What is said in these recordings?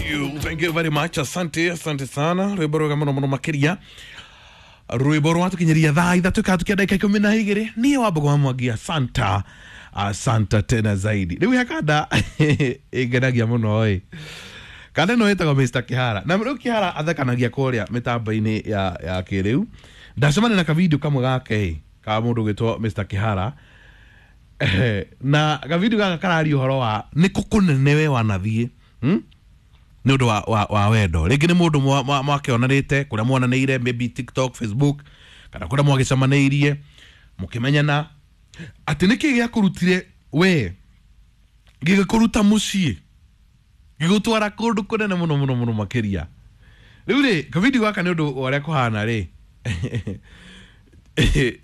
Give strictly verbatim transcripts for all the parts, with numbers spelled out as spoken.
you, thank you very much. Asante, asante sana. Rwimbo rwega muno muno makiria. Rwimbo rwatukinyiria thaa ithatu ikatukia ndagika ikumi na igiri. Niĩ Wambugu wa Mwangi, asanta, asanta tena zaidi. Rĩu he kanda ĩngenagia mũno ĩ. Kanda ĩno ĩtagwo Mister Kihara. Na rĩu Kihara athekanagia kũrĩa mĩtambo-inĩ ya ya kĩrĩu. Ndacemania na kavideo kamwe gake ĩ ka mũndũ ũgwĩtwo Mister Kihara. Na kavideo gaka kararia ũhoro wa nĩ kũ kũnene we wanathiĩ, hmm? Nĩ ũndũ wa, wa, wa wendo. Rĩngĩ nĩ mũndũ mwakĩonanĩte kũrĩa mwonanĩire, maybe TikTok, Facebook, kana kũrĩa mwagĩcemanĩirie mũkĩmenyana, atĩ nĩkĩ gĩakũrutire we gĩgĩkũruta mũciĩ gĩgũtwara kũndũ kũnene mũno mũno mũno makĩria. Rĩu rĩ kavideo gaka nĩ ũndũ wa ũrĩa kũhana rĩ,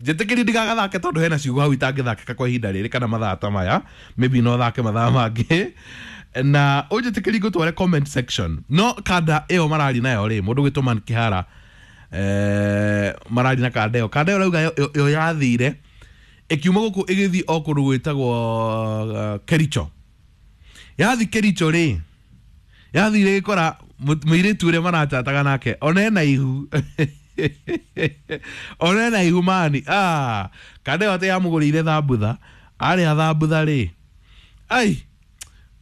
njĩtĩkĩrie ndigagathake tondũ hena ciugo hau itangĩthakĩka kwa ihinda rĩrĩ kana mathaa ta maya, maybe no thake mathaa mangĩ, na ũnjĩtĩkĩrie ngũtware comment section. No kanda ĩyo mararia nayo rĩ, mũndũ ũgwĩtwo Man Kihara, eh, mararia na kanda ĩyo. Kanda ĩyo rauga yo yathire ĩkiuma gũkũ ĩgĩthiĩ o kũndũ gwĩtagwo uh, Kericho. Yathi Kericho rĩ, yathire ĩgĩkora mũirĩtu ũrĩa marachataga nake ona ena ihu. Ona ena ihu mani. Ah, kanda ĩyo atĩ yamũgũrĩire thambutha, arĩa thambutha rĩ, ai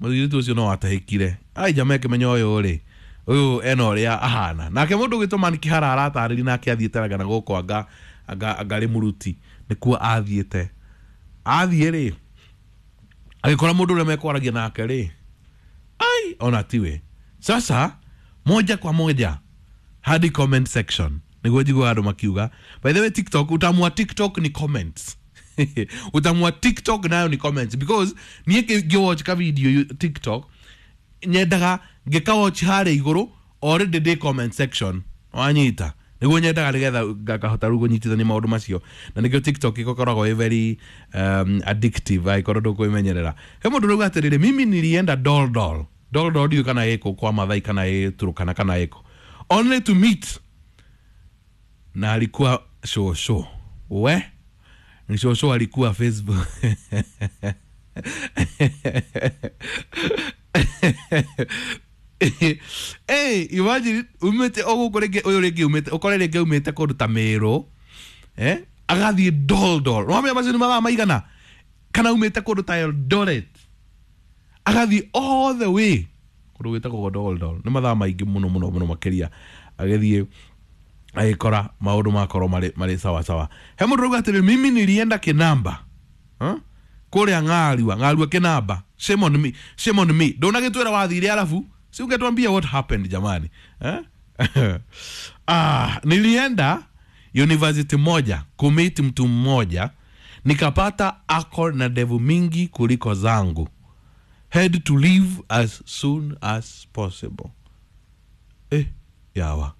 mũirĩtu ũcio no atahĩkire. Ai jamaa ĩkĩmenya ũyũ rĩ, ũyũ ena ũrĩa ahana. Nake mũndũ ũgwĩtwo Man Kihara aratarĩria nake athiĩte anga na gũkũ anga anga anga Rĩmũruti nĩkuo athiĩte. Athiĩ rĩ, agĩkora mũndũ ũrĩa mekwaragia nake rĩ, ai ona tiwe. Sasa moja kwa moja hadi comment section nĩguo njiguaga andũ makiuga. By the way, TikTok, utamu wa TikTok ni comments. Utamu wa TikTok nayo ni comments, because niĩ ngĩwatch ka video TikTok nyendaga ngĩkawatch harĩa igũrũ already ndĩ comment section, wanyita, nĩguo nyendaga nĩgetha ngakahota rĩu kũnyitithania maũndũ macio, na nĩkĩo TikTok ĩkoragwo ĩ very um, addictive angĩkorwo ndũkwĩmenyerera. He mũndũ ũrauga atĩrĩrĩ, mimi nilienda Doldol. Doldol ndiũĩ kana ĩkũ kwa Mathai kana ĩ Turkana kana ĩkũ, only to meet, na alikuwa shosho. We ni shosho alikuwa Facebook. Hey, imagine umete oguko rĩngĩ ũyũ rĩngĩ umete ũkore rĩngĩ umĩte kũndũ ta Meru, eh, agathiĩ Doldol. Nĩwamenya macio nĩ mathaa maigana? Kana umĩte kũndũ ta Eldoret agathiĩ all the way kũndũ gwĩtagwo Doldol, nĩ mathaa maingĩ mũno mũno mũno makĩria, agĩthiĩ agĩkora maũndũ makorwo marĩ marĩ sawa sawa. He mũndũ ũrauga atĩrĩ, mimi nilienda Kinamba, huh? Kũrĩa Ng'arua, Ng'arua Kinamba. Shame on me, shame on me. Ndũnagĩtwĩra wathire arabu, si ungetuambia what happened jamani, eh? Ah, nilienda university moja kumit mtu mmoja, nikapata ako na ndevu mingi kuliko zangu. Had to leave as soon as possible. Eh, yawa.